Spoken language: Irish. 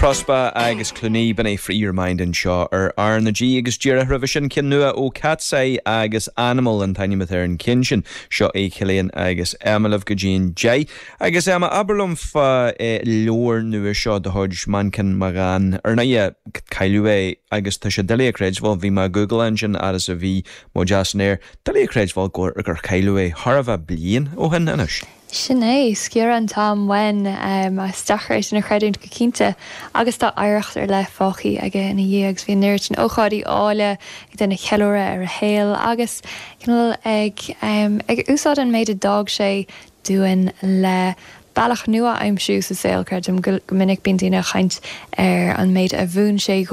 Prospa agus Clooney, b'in é Free Your Mind anseo ar R na G agus díreach roimhe sin ceann nua ó Katseye agus Animal an t-ainm atá ar an cheann sin. Seo é Cillian agus Emma libh go dtí an 10. Agus Emma, abair liom fá leabhar nua seo de chuid Manchán Magan. Ar ndóigh, cailleadh é agus tá sé doiligh a chreidbheáil, bhí mé ag googleáil ansin fhad is a bhí muid as an aer, doiligh a chreidbheáil gur cailleadh é chóir a bheith bliain ó shin anois. Sin é, sciorrann an t-am uainn. Is deacair é sin a chreidiúint go cinnte. Agus tá oidhreacht ar leith fágtha aige ina dhiaidh agus bhí an oiread sin ócáidí áille ag déanamh ceiliúradh ar a shaol agus cineál ag ag úsáid an méid a d'fhág sé dúinn le bealach nua a aimsiú sa saol, creidim. Go minic bíonn daoine ag caint ar an méid a mhúin sé.